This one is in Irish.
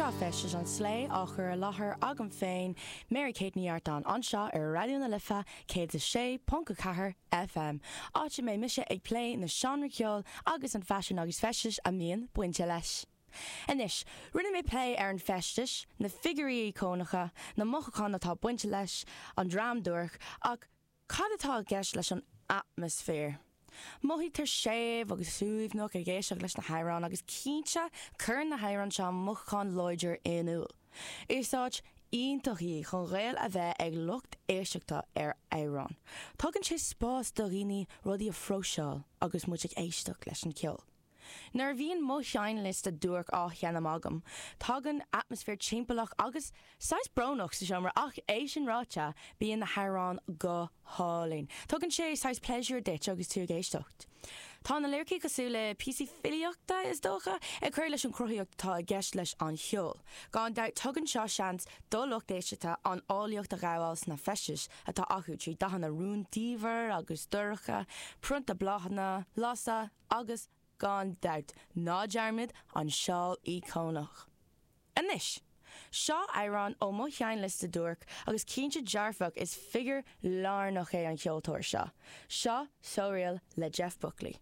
Seo Feistis an Slé á chur i láthair agam féin, Mary Kate Ní Artáin, anseo ar Raidió na Life 106.4 FM, áit a mbeidh mise ag plé na seánra ceoil agus an faisean agus feistis a mbíonn bainte leis. Anois, rinne mé plé ar an feistis, na figiúirí íocónacha, na mothúcháin atá bainte leis, an dream duairc, ach Cad atá i gceist leis an atmaisféar? Mothaítear séimh agus suaimhneach ag éisteacht leis na hamhráin agus cinnte cuireann na hamhráin seo mothúchán láidir in iúl. Is áit iontach í chun gaol a bheith ag lucht éisteachta ar amhráin. Tugann sé spás do dhaoine rudaí a phróiseáil agus muid ag éisteacht leis an cheol. Nuair a bhíonn mo sheinnliosta duairc á sheinm agam, tagann atmaisféar timpeallach agus saghas brónach sa seomra ach é sin ráite, bíonn na hamhráin go hálainn. Tugann sé saghas pléisiúr duit agus tú ag éisteacht. Tá na liricí cosúil le píosaí filíochta, is dócha, ag cur leis an chruthaíocht atá i gceist leis an cheol. Gan dabht, tugann seo seans do lucht éisteachta an áilleacht a ghabháil sna feistis atá acu trí dathanna rúndiamhair agus dorcha, prionta bláthanna, lasadh, agus, gan dabht, ná dearmad an seál íocónach. Anois, seo amhrán ó mo sheinnliosta duairc agus cinnte dearfach is figiúr lárnach é an cheoltóir seo. Seo So Real le Jeff Buckley.